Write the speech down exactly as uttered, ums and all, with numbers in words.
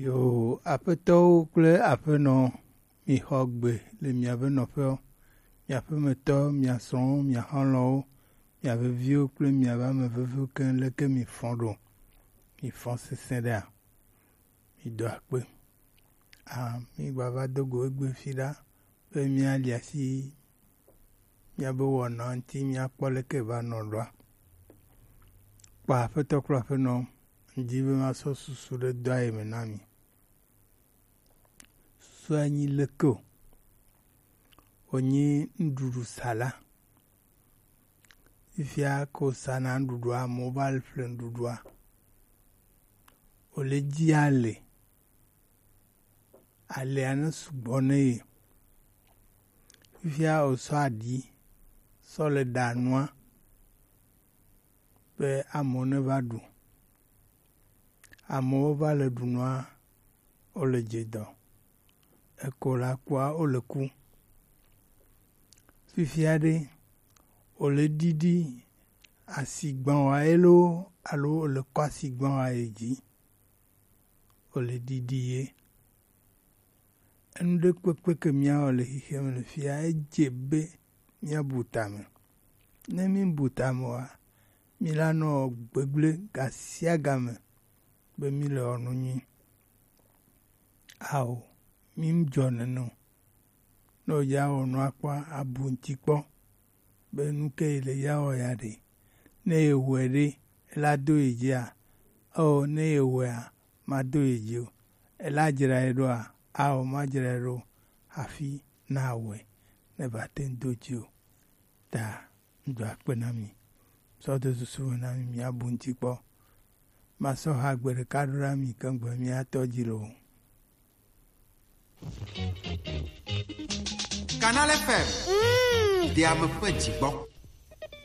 Yo, aƒetɔwo kple aƒenɔ, mixɔ gbe le miaƒe nɔƒewo, miaƒe metɔ, mia srɔ̃wo, mia xɔlɔ̃wo, miaƒe viwo kple miaƒe ame veviwo keŋ, leke mifɔ ɖo? Mifɔ sesẽ ɖea? Mido akpe. Ah, mígbava do go egbe fi ɖa be míali asi míabe wɔna ŋuti míakpɔ leke va nɔ ɖoa. Kpɔ aƒetɔ kple aƒenɔ, ŋdi be masɔ susu ɖe dɔa yi me na mi. Susua nyi leke o. Wònyi nuɖuɖu sala. Fifia ko sana nuɖuɖua, amewo va le ƒle nuɖuɖua. Wòle dzi ale. Alea ne sugbɔ ne ye. Fifia wòsɔ aɖi sɔ le ɖa nua be amewo neva ɖu. Amewo va le ɖu nua, wole dze dɔ. Eko la kua, wole ku. Fifia ɖe, wòle ɖiɖi asigbawa ye loo alo wòle kɔ asigbawa ye dzi? Wòle ɖiɖi ye. Enu ɖe kpekpe ke míawɔ le xexeame le fia, edze be míabu tame. Ne míbu tame oa, mílanɔ gbegblẽ gasiagame be míle wɔ nu nyui. Ao, mídzɔ nene o. Ne wòdza wɔ nua kpɔa, abu ŋuti kpɔ be nu ke yi le ya wɔ ya ɖe. Ne yewɔe ɖe, ela do yi dzia? Ao, ne yewɔea, mado yi dzi o. Ela dzra ye ɖoa? Ao, madzra ye ɖo hafi nawɔe ne va te ŋu do dzi o. Ta ŋdo akpe na mi. Sɔ do susu me na mi, miabu ŋuti kpɔ. Masɔ ha gbe ɖeka ɖo na mi keŋ gbe miatɔ dzi loo. Canal F M. Mm. Ɖe ame ƒe dzi gbɔ.